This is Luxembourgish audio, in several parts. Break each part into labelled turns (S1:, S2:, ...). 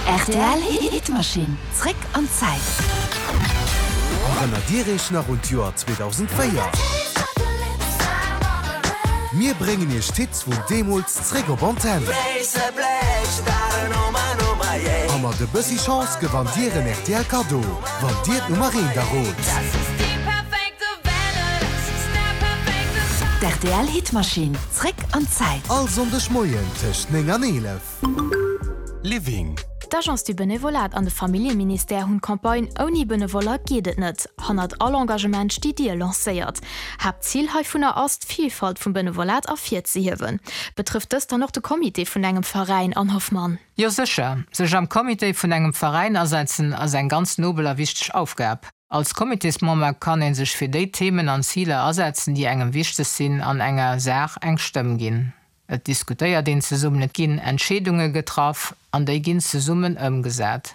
S1: Rtl Hitmaschinn, zréck an d'Zäit.
S2: Erënnert Dir Iech nach un d'Joer 2004? Mir bréngen Iech d'Hits vun deemools zréck op Antenn. A mat e bëssi Chance gewannt Dir en rtl Kaddo, wann Dir d'Nummer eent errot.
S1: D'RTL Hitmaschinn, zréck an d'Zäit.
S2: All Sonndeg Moien tëscht 9 an 11.
S3: Living.
S4: D'Agence du Benevolat an de Familljeministère hunn d'Campagne Ouni Benevoller geet et net, hannert all Engagement sti Dir lancéiert. Haaptzil heivunner ass, d'Vilfalt vum Benevolat ervirzehiewen. Betrëfft dëst dann och de Comité vun engem Veräin, Anne Hoffmann?
S5: Jo sécher, sech am Comité vun engem Veräin asetzen ass eng ganz nobel a wichteg Aufgab. Als Comitésmember kann een sech fir déi Themen an Ziler asetzen, déi engem wichteg sinn an enger Saach eng Stëmm ginn. Et diskutéiert een zesummen, et ginn Entscheedunge getraff an déi ginn zesummen ëmgesat.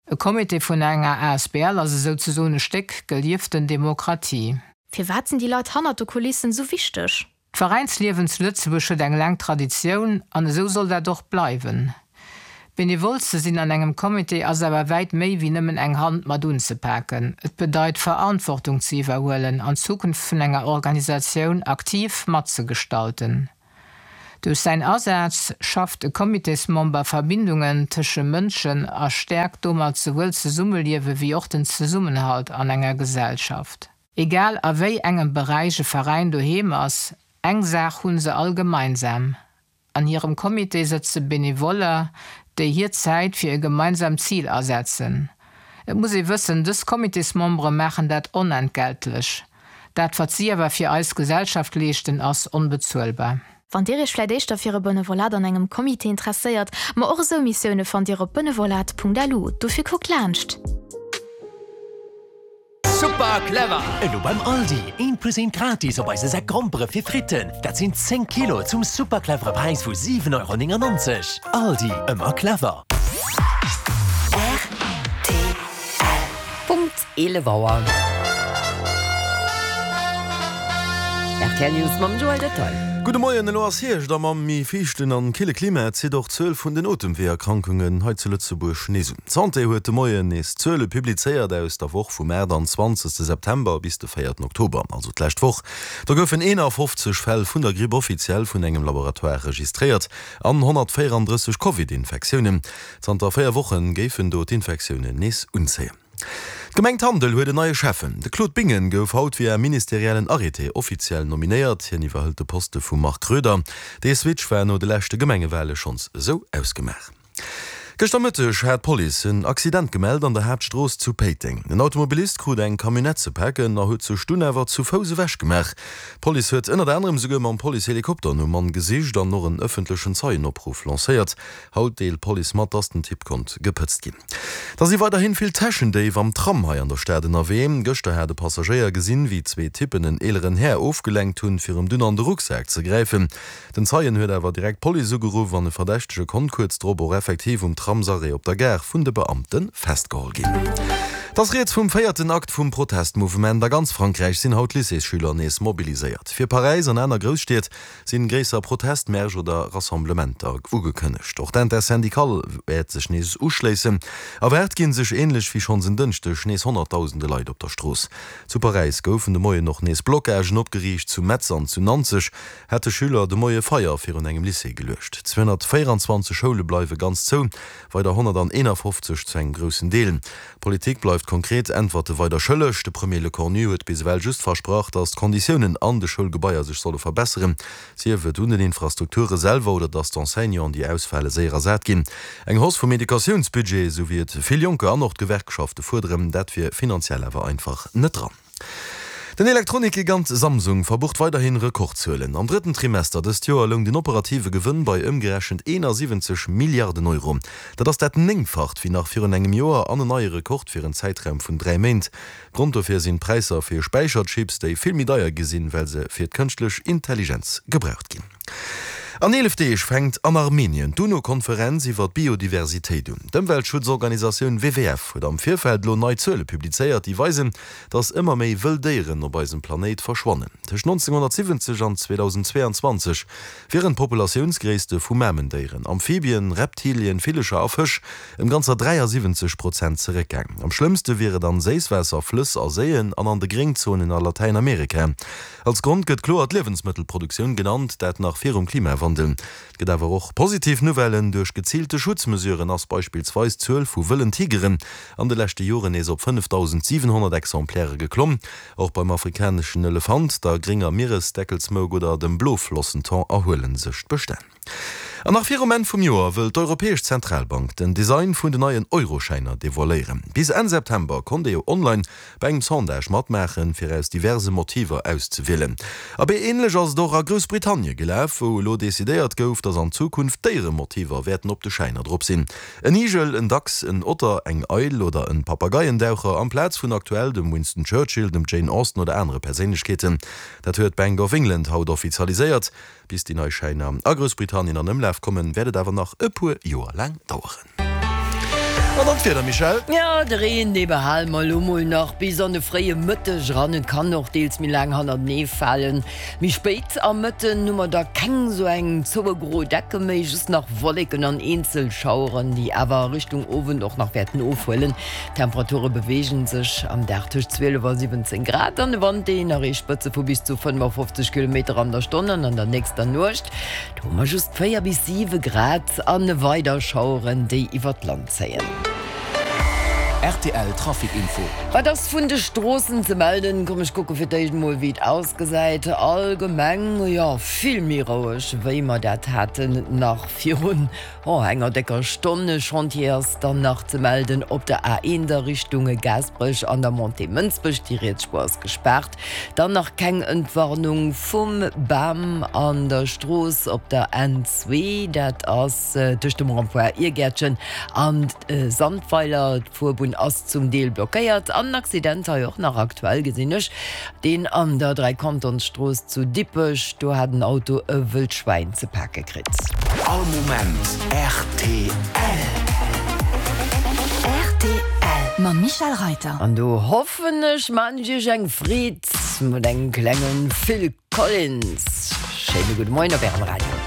S5: E Comité vun enger asbl ass esou ze soen e Stéck gelieften Demokratie.
S4: Firwat sinn déi Leit hannert de Kulissen esou wichteg?
S5: D'Veräinsliewen zu Lëtzebuerg huet eng laang Traditioun an esou soll dat och bleiwen. Benevol ze sinn an engem Comité ass awer wäit méi wéi nëmmen eng Hand mat unzepaken. Et bedeit Verantwortung ze iwwerhuelen an d'Zukunft vun enger Organisatioun aktiv matzegestalten. Duerch säin Asaz schafft e Comitésmember Verbindungen tësche Mënschen a stäerkt domat souwuel d'Zesummeliewe wéi och den Zesummenhalt an enger Gesellschaft. Egal a wéi engem Beräich e Veräin doheem ass, eng Saach hu se all gemeinsam, An hirem Comité sëtze Benevoller, déi hir Zäit fir e gemeinsamt Zil asetzen. Et muss ee wëssen, dës Comitésmembere maachen dat onentgeltlech. Dat wat si awer fir eis Gesellschaft leeschten, ass onbezuelbar.
S4: Wann Dir Iech vläit éischter fir e Benevolat an engem Comité interesséiert, ma och esou Missioune fannt Dir op benevolat.lu. Dofir kuckt laanscht!
S3: Super clever! Elo beim Aldi, eent plus eent gratis op eise Säck Grompere fir Fritten. Dat sinn 10 Kilo zum super clevere Präis vu 7,99 Euro. Aldi, ëmmer clever!
S1: Rtl.
S6: Punkt 11 Auer. Rtl News mam Joël Detail.
S7: Gudde Moien, Elo ass Hierscht a mam méi fiichten an kille Klima zitt och d'Zuel vun den Otemweeërkrankungen hei zu Lëtzebuerg nees un. D'Santé huet de Moien nees Zuele publizéiert aus der Woch vum 28 September bis de 4 Oktober, also d'lescht Woch. Do goufen 51 Fäll vun der Gripp offiziell vun engem Laboratoire registréiert an 134 Covid-Infektiounen. Zanter 4 Woche géifen do d'Infektiounen nees unzéien. D'Gemeng Tandel huet en neie Schäffen. De Claude Bingen gouf haut via ministeriellen Arrêté offiziell nominéiert. Hien iwwerhëlt de Poste vum Marc Roeder. Dee Switch war no de leschte Gemengewale schonns esou ausgemaach. Gëschter Mëtteg hat d'Police en Accident gemellt an der Haaptstrooss zu Péiteng. En Automobilist krut eng Camionnette ze paken a huet sech dunn awer zu Fouss ewech gemaach. D'Police huet ënnert anerem souguer mam Policehelikopter nom Mann gesicht an och en ëffentlechen Zeienopruff lancéiert. Haut deelt d'Police mat, dass den Typ konnt gepëtzt ginn. Da si weiderhin vill Täschendéif am Tram hei an der Stad ënnerwee. Gëschter hat e Passagéier gesinn, wéi zwee Typpen en eeleren Här ofgelenkt hunn, fir em dunn an de Rucksak ze gräifen. Den Zeien huet awer direkt d'Police ugeruff an e Verdächtege konnt kuerz drop och effektiv um Tramsarrêt op der Gare vun de Beamte festgeholl ginn. Et ass rieds vum véierten Akt vum Protestmouvement. A ganz Frankräich sinn haut Lycéesschüler nees mobiliséiert. Fir Paräis an aner Grousstied sinn gréisser Protestmärsch oder Rassemblementer ugekënnegt. Och d'Intersyndicale wäert sech nees uschléissen. Erwaart ginn sech änlech wéi schonns en Dënschdeg nees honnertdausende Leit op der Strooss. Zu Paräis goufen de Moien och nees Blockagen opgeriicht, zu Metz an zu Nanzeg. Hätte Schüler de Moie Feier virun engem Lycée geluecht. 224 Schoule bleiwe ganz zou, weider 151 zu engem groussen Deel. D'Politik bleift konkret Äntwerte weider schëlleg. De Premier Lecornu huet bis ewell just versprach, datt d'Konditiounen an de Schoulgebaier sech solle verbesseren, sief et un den Infrastrukture selwer oder datt d'Enseignanten, déi ausfale, séier ersat ginn. Eng Hausse vum Educatiounsbudget, esou wéi et vill Jonker an och d'Gewerkschafte fuerderen, dat wier finanziell awer einfach net dran. Den Elektronikgigant Samsung verbucht weiderhin Rekordzuelen. Am drëtten Trimester dëst Joer loung den operative Gewënn bei ëmgerechent 71 Milliarden Euro. Dat ass dat Néngfacht wéi nach virun engem Joer an en neie Rekord fir en Zäitraum vun 3 Méint. Grond dofir sinn d'Präisser fir Späicherchips, déi vill méi deier gi sinn, well se fir d'kënschtlech Intelligenz gebraucht ginn. An 11 Deeg fänkt an Armenien d'UNO-Konferenz iwwer d'Biodiversitéit un. D'Ëmweltschutzorganisatioun WWF huet am Virfeld elo nei Zuele publizéiert, déi weisen, datt ëmmer méi wëll Déieren op eisem Planéit verschwannen. Tëscht 1970 an 2022 wieren d'Populatiounsgréisste vu Mamendéieren, Amphibien, Reptilien, Villecher a Fësch ëm ganzer 73 Prozent zeréckgaang. Am schlëmmste wier et an Séisswaasser, Flëss a Séien an an de Gréngzonen a Latäinamerika. Als Grond gëtt kloer d'Liewensmëttelproduktioun genannt, dat nach virum Klimawandel. Et gëtt awer och positiv Nouvellen, Duerch geziilte Schutzmesuren ass beispillsweis d'Zuel vu wëllen Tigeren an de leschte Joren nees op 5.700 Exemplaire geklomm. Och beim afrikaneschen Elefant, der grénger Mieresdeckelsmouk oder dem Bloflossenthon erhuele sech d'Bestänn. An nach virum Enn vum Joer wëll d'Europäesch Zentralbank den Design vun den neien Euroschäiner devoiléieren. Bis Enn September konnt ee jo online bei engem Sondage matmaachen, fir aus diverse Motiver auszewielen. Abee, änlech ass et och a Groussbritannie gelaf, wou elo decidéiert gouf, datt an Zukunft Déieremotiver wäerten op de Schäiner drop sinn. En Igel, en Dachs, en Otter, eng Eil oder en Papageiendaucher amplaz vun aktuell dem Winston Churchill, dem Jane Austen oder anere Perséinlechkeeten. Dat huet d'Bank of England haut offizialiséiert. Bis déi nei Schäiner a Groussbritannien an Ëmlaf kommen, wäert et awer nach e puer Joer laang daueren. An dann d'Wieder, Michèle?
S6: Jo, de Reen, dee behale mer elo mol nach bis an de fréie Mëtteg eran. Et kann och deels méi laang hannertenee falen. Méi spéit am Mëtten hu mer da keng esou eng zoue gro Decke méi, just nach Wolleken an eenzel Schaueren, déi awer a Richtung Owend och nach wäerten ofhuelen. D'Temperature beweege sech am Dag tëscht 12 a 17 Grad an de Wand deen erreecht Spëtze vu bis zu 55 Kilometer an der Stonn. An an der nächster Nuecht, do hu mer just 4 bis 7 Grad a weider Schaueren, déi iwwert d'Land zéien.
S3: Rtl Trafic Info.
S6: Wat ass vun de Stroossen ze melden? Komm ech kucke fir d'éischt mol wéi et ausgesäit. Allgemeng, jo vill méi roueg wéi mer dat haten nach virun Oh, enger décker Stonn. E Chantier ass dann nach ze melden op der A1 a Richtung Gaasperech an der Montée Mënsbech. Déi riets Spuer ass gespaart. Dann nach keng Entwarnung vum Bam an der Strooss op der N2. Dat ass tëscht dem Rond-point Iergäertchen an Sandweiler. D'Fuerbunn ass zum Deel blockéiert. An en Accident hei och nach aktuell, gesinn ech. Deen an der Dräikantonsstrooss zu Dippech, do hat en Auto e wëllt Schwäin ze pake kritt.
S3: All Moment rtl.
S1: Rtl mam Michèle Reyter.
S6: An do hoffen ech, maan ech iech eng Freed mat engem klengen Phil Collins. Schéine gudde Moien op ärem Radio.